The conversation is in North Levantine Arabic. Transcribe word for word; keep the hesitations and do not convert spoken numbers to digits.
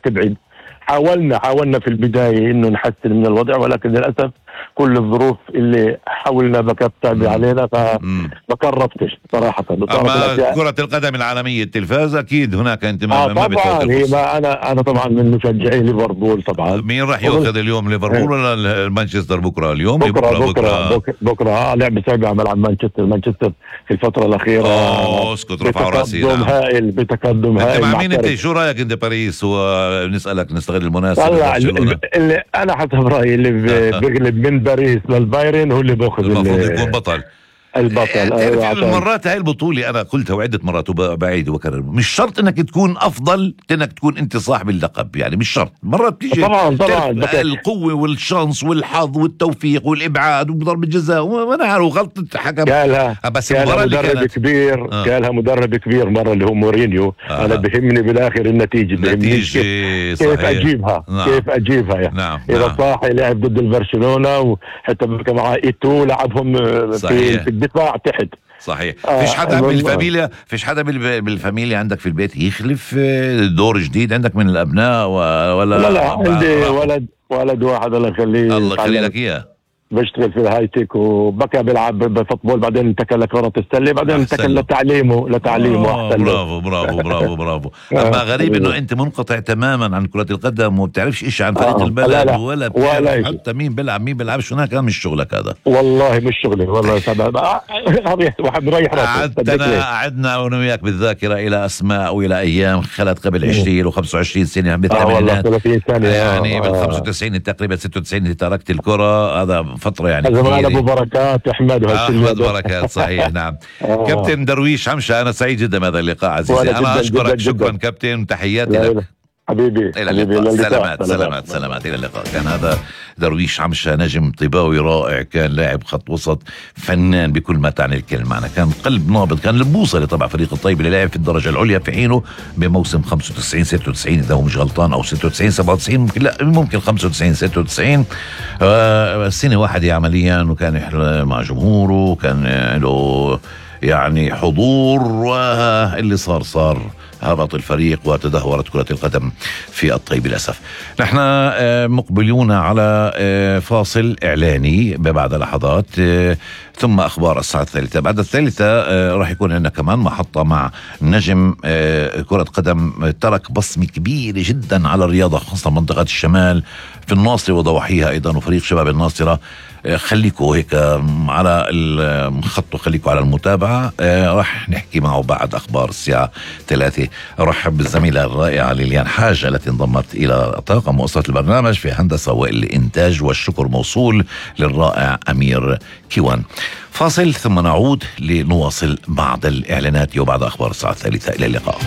تبعد. حاولنا حاولنا في البداية إنه نحسن من الوضع، ولكن للأسف كل الظروف اللي حاولنا بكت تعبي علينا فما قربتش صراحة. أما كرة القدم العالمية التلفاز أكيد هناك انتماء. آه طبعا هي ما أنا أنا طبعا من مشجعي ليفربول طبعا. مين راح يأخذ اليوم، ليفربول ولا مانشستر بكرة؟ اليوم بكرة بكرة بكرة, بكرة, بكرة آه لعبة صعبة على ملعب مانشستر. مانشستر في الفترة الأخيرة أوه اسكت رفعوا راسي. بتقدم هائل بتقدم هائل. مع مين انت؟ شو رأيك انت باريس؟ ونسألك نستغل المناسبة. اللي, اللي أنا حسب رأيي اللي بيغلب من باريس للبايرن هو اللي باخذ المفروض يكون بطل. البطل. أيوة المرات هاي البطولة أنا قلتها وعدة مرات وبعيد وبكرر، مش شرط إنك تكون أفضل إنك تكون أنت صاحب اللقب، يعني مش شرط. مرات بتيجي طبعا طبعا القوة والشانس والحظ والتوفيق والإبعاد وضرب الجزاء وأنا عارف غلطة حكم. قالها بس قالها مدرب كبير آه. قالها مدرب كبير مرة اللي هو مورينيو. آه. أنا بهمني بالآخر النتيجة، بهمني كيف, كيف أجيبها. نعم. كيف أجيبها يعني. نعم. إذا نعم. صاح لعب ضد البرشلونة وحتى مع إيتو لعبهم في, في الدفاع تحت. صحيح. آه فيش حدا بالفاميليا فيش حدا بالفاميليا عندك في البيت يخلف دور جديد عندك من الأبناء ولا؟ لا لا عندي ولد ولد واحد الله يخليه. الله يخلي لك إياه. بيشتغل في الهايتك وبكى بيلعب بفوتبول، بعدين انتقل لكرة السلة، بعدين انتقل لتعليمه لتعليمه أحسن. برافو برافو برافو برافو. أما غريب إنه أنت منقطع تماما عن كرة القدم وما بتعرفش إيش عن فريق آه. البلد لا لا. ولا بتعرف حتى مين بيلعب مين بيلعبش. هناك مش شغلك هذا. والله مش شغلي والله. سبب واحد مريح راسه. قعدنا قعدنا أنا وياك بالذاكرة إلى أسماء وإلى أيام خلت قبل عشرين وخمسة وعشرين سنة بالثمانينات. آه سنة يعني من خمسة وتسعين تقريبا ستة وتسعين تركت الكرة. هذا فترة يعني زمان ابو بركات احمد احمد بركات. صحيح. نعم. آه. كابتن درويش عمشة، انا سعيد جدا بهذا اللقاء عزيزي. انا اشكرك شكرا كابتن، تحياتي لك حبيبي. الى اللقاء. سلامات سلامات سلامات الى اللقاء. كان هذا درويش عمشة، نجم طيباوي رائع، كان لاعب خط وسط فنان بكل ما تعني الكلمة. كان قلب نابض، كان البوصلة طبعا فريق الطيب اللي لعب في الدرجة العليا في حينه بموسم خمسة وتسعين ستة وتسعين اذا هو مش غلطان، او ستة وتسعين سبعة وتسعين ممكن، لا ممكن خمسة وتسعين ستة وتسعين. آه سنة واحدة عمليا، وكان يحلى مع جمهوره، وكان له يعني حضور، واللي صار صار هبط الفريق وتدهورت كرة القدم في الطيب للأسف. نحن مقبلون على فاصل إعلاني ببعد لحظات، ثم أخبار الساعة الثالثة. بعد الثالثة راح يكون لنا كمان محطة مع نجم كرة قدم ترك بصمة كبيرة جدا على الرياضة، خاصة منطقة الشمال في الناصرة وضواحيها أيضا، وفريق شباب الناصرة. خليكوا هيك على الخط وخليكوا على المتابعة. راح نحكي معه بعد أخبار الساعة ثلاثة. أرحب بالزميلة الرائعة ليليان حاج التي انضمت إلى طاقم وأسرة البرنامج في هندسة والإنتاج، والشكر موصول للرائع أمير كيوان. فاصل ثم نعود لنواصل بعد الإعلانات وبعد أخبار الساعة الثالثة. إلى اللقاء.